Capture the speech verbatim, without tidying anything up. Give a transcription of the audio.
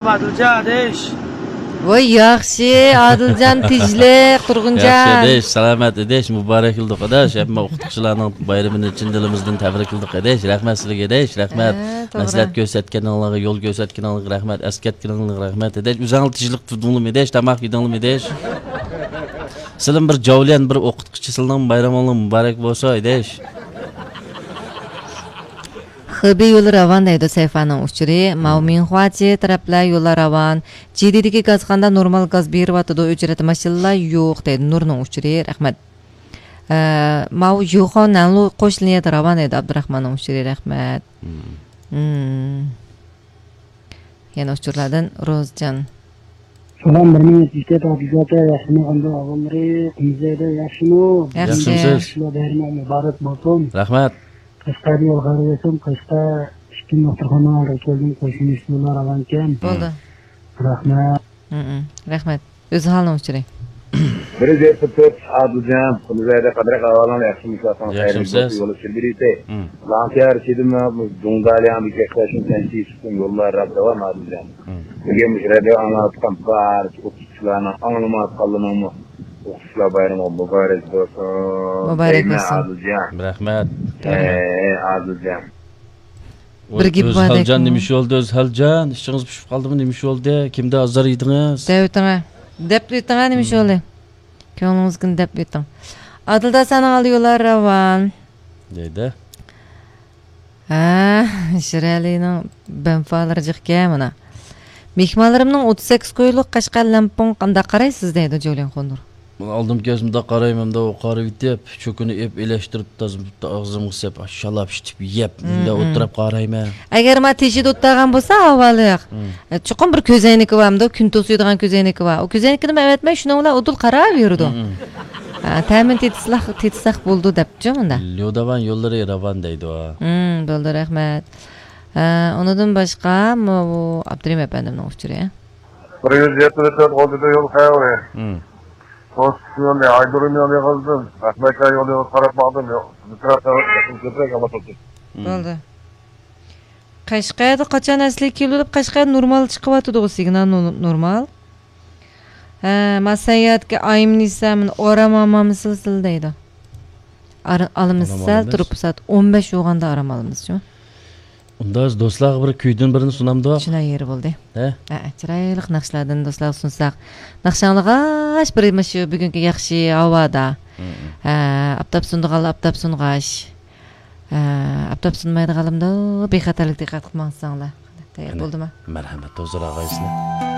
ئادىلجان ئادىش. ۋاي ياخشى، ئادىلجان تىجلىق، تۇرغۇنجان. ياخشى ئادىش، سالامەت ئادىش، مۇبارەك قىلدۇق ئاداش. ھەممە ئوقۇتقۇچىلارنىڭ بايرىمىنى چىن دىلىمىزدىن تەبرىك قىلدۇق ئاداش. رەھمەت سىلىگە ئاداش، رەھمەت. ھە، توغرا. مەسلىھەت كۆرسەتكىنىڭلارغا، يول كۆرسەتكىنىڭلارغا رەھمەت، ئەسكەرتكىنىڭلارغا رەھمەت ئاداش. ئۆزۈڭلار تىجلىق تۇردۇڭلارمۇ ئاداش، تاماق يېدىڭلارمۇ ئاداش؟ سىلىم بىر جاۋلىيان بىر ئوقۇتقۇچى، سىلىنىڭ بايرىمىڭلار مۇبارەك بولسۇن ئاداش. خېبېي يولى راۋان دەيدۇ سەيفانىڭ ئۇچۇرى. ماۋۇ مىڭخۇاچى تەرەپلەر يوللار راۋان. جىدىدىكى گازخانىدا نورمال گاز بېرىۋاتىدۇ، ئۆچرەتتە ماشىنىلار يوق دەيدۇ نۇرنىڭ ئۇچۇرى. رەھمەت. ئە، ماۋۇ يۇخاۋ نەنلۇ قوش لىنىيەدە راۋان دەيدۇ ئابدۇراخماننىڭ ئۇچۇرى. رەھمەت. مم. يەنە ئۇچۇرلاردىن روزجان. سالام، بىر مىڭ يەتمىش تۆت ئادىلجان ئاكا، ياخشىمۇ، قانداق ئەھۋاللىرى؟ قۇمزەيدە ياخشىمۇ؟ ياخشى. ياخشىمۇ سىز؟ بەيرىمى مۇبارەك بولسۇن. رەھمەت. قەشقەردە يول خەير بولسۇن. قەشقەر ئىككى دوختۇرخانىغا كەلدىم، قوشۇن ئىشلار راۋانكەن. بولدى. رەھمەت. ھمم، رەھمەت. ئۆزھالنىڭ ئۇچۇرى. بىر يۈز يەتمىش تۆت ئادىلجان، قۇمزەيدە قانداق ئەھۋالىڭ؟ ياخشىمۇ، ساغ سالامەت يول ئۈچۈن بېرىۋېتەي. مم. لانكەر چېدىم، دۇڭدالياڭ بېكەتلەشنى سەنچى يوللار راپ داۋام ئادىلجان. مم. بۈگۈن مۇشۇ رادىيو ئاڭلاۋاتقان بارچە ئوقۇتقۇچىلارنىڭ، ئاڭلىمايۋاتقانلىرىنىڭمۇ ئوقۇتقۇچىلار بايرىمى مۇبارەك بولسۇن. مۇبارەك دەيمەن بولسۇن. ئادىلجان. رەھمەت. ھەي، ئادىلجان. بىر گېپى بار ئۆزھالجان، نېمە ئىش بولدى ئۆزھالجان؟ ئىچىڭىز پۇشۇپ قالدىمۇ؟ نېمە ئىش بولدى؟ كىمدە ئازار يېدىڭىز؟ دەپ ئۆتۈڭە. دەپ ئۆتۈڭە، نېمە ئىش بولدى؟ كۆڭلىڭىزگىنى دەپ ئۆتۈڭ. ئادىلدا سانىڭ ئالدى يوللار راۋان. دەيدۇ. ھە، شىرئەلىنىڭ بەنفالىرى جىقكەن مانا. مېھمانلىرىمنىڭ ئوتتۇز سەككىز كويلۇق قەشقەر لەڭپۇڭ قانداق قارايسىز دەيدۇ جوليەن خۇندۇر. ئالدىم كەلسە مۇنداق قارايمەن، مۇنداق قارىۋېتىپ، چۆكۈنى ئېپ، ئېلەشتۈرۈپ، تازا ئاغزىمغا سەپ، شالاپ ئىچىپ يەپ، مۇنداق ئولتۇرۇپ قارايمەن. ئەگەر ما تېشى دوتتاغان بولسا، ھاۋالىق. ئە، چوقۇم بىر كۆزەينىكى بارمىدۇ، كۈن توسۇيدىغان كۆزەينىكى بار. ئۇ كۆزەينىكىنىمۇ ئەۋەتمەي، شۇنىڭ بىلەن ئۇدۇل قاراۋېرىدۇ. ئە، تەمىنى تېتىساق، تېتىساق بولىدۇ دەپچۇ مۇندا. ليۇداۋان يوللىرى راۋان دەيدۇ. ھىم، بولدى، رەھمەت. ئە، ئۇنىڭدىن باشقا، مۇ-، ئابدۇرېھىم ئەپەندىمنىڭ ئۇچۇرى. بىر يۈز يەتمىش تۆت ئون يەتتە يول خەۋىرى. ھىم. كونستىتسىيوننى ئايدۇرۇم يولى يىغىلدىم. ئەخمەتكان يولى يىغىلدىپ قاراپ باقتىم. يوق. مىكرو خەۋەر، كۆپرەك ئاڭلاپ تۇردۇم. ھىم. بولدى. قەشقەردە قاچان ئەسلىگە كېلىۋېلىپ، قەشقەر نورمال چىقىۋاتىدىغۇ، سىگنال نو-، نورمال. ھە، ما سەييارەتكە ئايمىنىسە، مانا ئورام ئالمامسىز دەيدۇ. ئارا-، ئالىمىز سەل تۇرۇپ، سائەت ئون بەش بولغاندا ئارام ئالىمىزچۇ. ئۇندا دوستلارغا بىر كۈيدىن بىرنى سۇنامدۇ؟ شۇنداق يېرى بولدى. ھە؟ ھە، چىرايلىق ناخشىلاردىن دوستلارغا سۇنساق. ناخشا ئاڭلىغاچ بىر مۇشۇ بۈگۈنكى ياخشى ھاۋادا. ھە، ئاپتاپ سۇنىدىغانلار ئاپتاپ سۇنغاچ. ھە، ئاپتاپ سۇنمايدىغانلىرىمدا بىخەتەرلىك دىققەت قىلىپ ماڭساڭلار. تەييار بولدىما؟ مەرھەمەت، ھۇزۇر ئاغايسىلەر.